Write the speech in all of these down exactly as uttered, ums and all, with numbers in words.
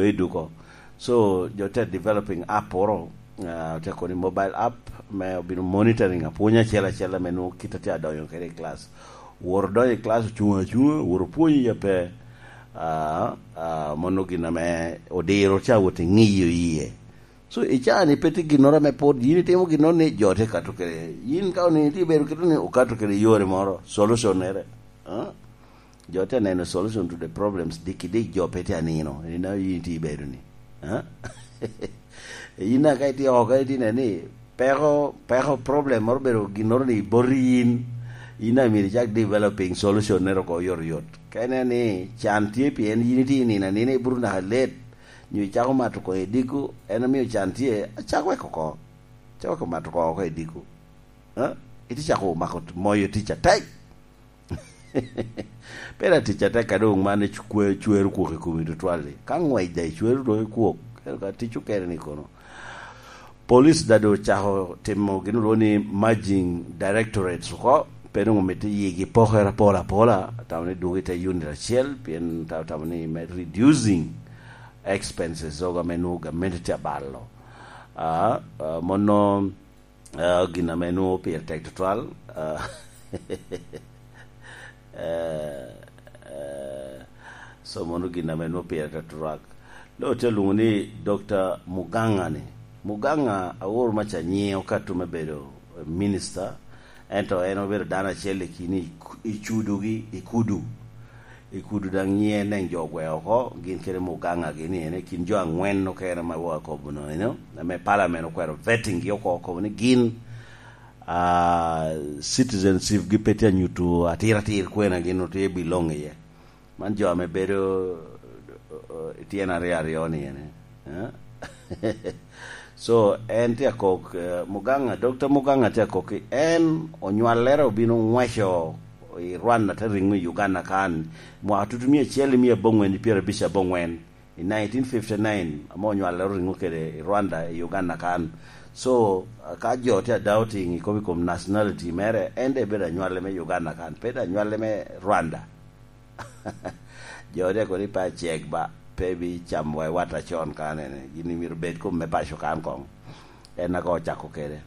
i duko. So jo te developing app oro, ah, te koni mobile app me obino monitoring apwony acel acel ame nwoŋo kit a tye adonyo kede i class. Woro donyo i class, ocuŋ acuŋa, woro pwonyi ya pe, ah, ah, mono gin ame odiro ca wot i ŋiyo iye. So i caa ni pe tye ginnoro ame pwod yin itimo ginnoro ni jo tye kato kede. Yin ka onini tye bedo kede ni okato kede yore moro, solution nere. Ah? Jo tye neno solution to the problems diki dik, jo pe tye anino. Ina yin tye bedo ni. Ah? Ina ka itye oko, ka itye neno ni peko, peko problem moro bedo ginnoro ni boti yin. Ina myero icak developing solution nere oko yot yot. Ka ineno ni can tye pien yin itye nino anina, iburu naka let, nyo icako mato koŋ i diko, en omio can tye, acak wek oko. Acak wek mato koŋ oko i diko. Ah? Iti cako mako moyo tic atek. Pe da tic atek ka doŋ man icwe-, cwero kwok i komi tutwal-li. Ka ngwec da icwero doŋ i kwok, ento ka tic okene ni kono. Police da doŋ ocako timo gin olwoŋo ni merging directorates oko, pe doŋ omito yigi pokere apol apola, tamo ni dwogo i te unit acel, pien ta-, tamo ni me reducing expenses oga me nwoŋo gamente tye abalo. Ah, ah, mono, ah, gin ame nwoŋo pire tek tutwal, ah, eh, eh, so mono gin ame nwoŋo pire tek tutwal. Lo te lwoŋo ni Doctor Muganga ni. Muganga aor maca nyiŋe okato me bedo minister, ento en obedo dano acel i kin i, i cudugi, i kudu. I kudu daŋ nyiŋe neŋ jo ogweo oko, gin kede Muganga gini ene, kin jo angwen okene ma wa kobo no eno, ame parliament okwero vetting gi oko, okobo ni gin, ah, citizenship gi pe tye anyuto atir atir kwena gin otye biloŋ iye. Man jo ame bedo, eh, tyen aryo aryo ni ene. Eh? So, en tye akok, eh, Muganga, Doctor Muganga tye akok ki en onywallere obino ngweco i Rwanda te riŋo i Uganda kan, mwaka tutu mia acel i mia abongwen i pyerabic abongwen, i nineteen fifty-nine, ame onywallere oriŋo kede i Rwanda i Uganda kan. So, ka jo tye a doubting i kom, i kom nationality mere, en de bedo anywale me Uganda kan, pe de anywale me Rwanda. Jo de kono i pa cek ba, pe bi cam wa i wat acon kanene. Gin myero bed kom me paco kan koŋ. En ago ocako kede.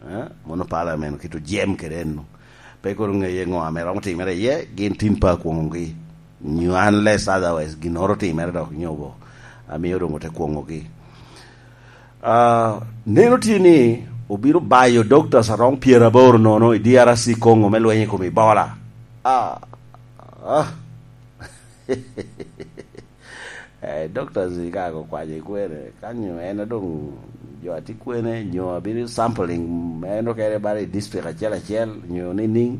Eh? Mono parliament okito jem kede eno. Pe kono ŋeye ŋo ame romo timere iye, gin tin pa kwoŋogi. Nyo unless otherwise, ginnoro timere dok nyobo. Amio doŋ ote kwoŋogi. Ah, neno tye ni obino bayo doctors aromo pyeraboro nono i D R C Congo me lweny i kom Ebola. Ah, ah. Eh, doctors ka okwanyo i kwene, kanyo en doŋ jo atye kwene, nyo abino sampling, en okene bala i district acel acel, nyo nining?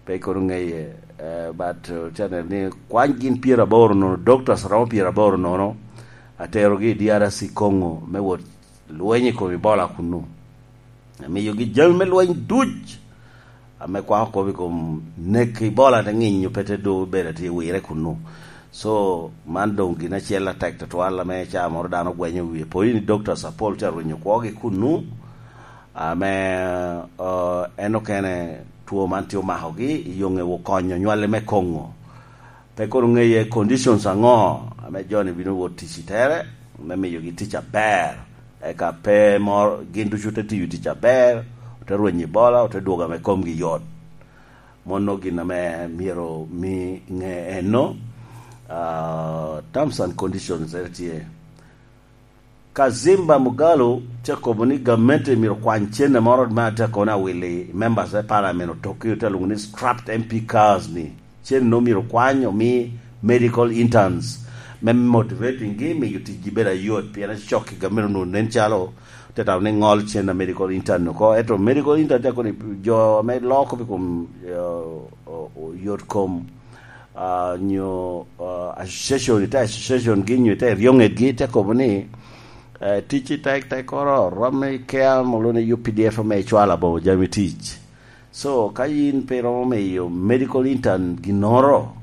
Pe kono ŋeye, eh, but, eh, channel ni kwany gin pyeraboro nono, doctors romo pyeraboro nono, aterogi i D R C Congo me wot lweny i kom Ebola kunnu. Amiyogi jami me lweny duc, ame kwako kop i kom nek Ebola te ŋinyo pe te do bedo atye wire kunnu. So, man doŋ gin acel atek tutwal ame ca moro dano gwenyo wie. Pwod ni doctors apol tye arwenyo kwogi kunnu, ame, eh, en okene two man tye omakogi i yoŋe okonyo nywale me Congo. Pe kono ŋeye conditions aŋo ame jo-ni bino wot tic i tere, me miyogi tic aber, eka pe moro, gin ducu te tiyo tic aber, ote rwenyo Ebola, ote dwogo ame komgi yot. Mono gin ame myero mi ŋe eno, ah, terms and conditions ene tye. Kazimba Mugalu tye kobo ni gamente myero kwany cene moro me atye kono awili members me parliament otokki, ote lwoŋo ni scrapped M P cars ni. Cene no myero kwany omi medical interns me motivating gi, miyo ticgi bedo ayot, pien acok i gamente onwoŋo nen calo te tamo ni ŋol cen a medical intern oko. Ento medical intern tye kono jo ame loko pi kom, eh, o-, o-, yot kom, ah, nyo, ah, association, ite association gi nyo ite ryoŋet gi, te kobo ni, eh, tic i tek tek oro, rom me care molo ni U P D F ame icwalo aboŋo jami tic. So, ka yin pe iromo miyo medical intern ginnoro,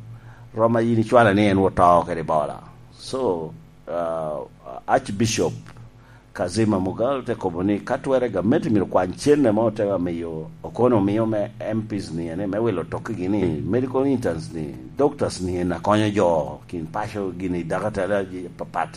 rom a yin icwalo ni en oto kede Ebola. So, ah, Archbishop Kazima Mugalu te kobo ni ka twere gamente myero kwany cene mo te miyo, okono miyo me M Ps ni ene, me wilo tokkigi ni medical interns ni, doctors ni en akonyo jo kin paco gini, dakatari aji-, pa-, pati.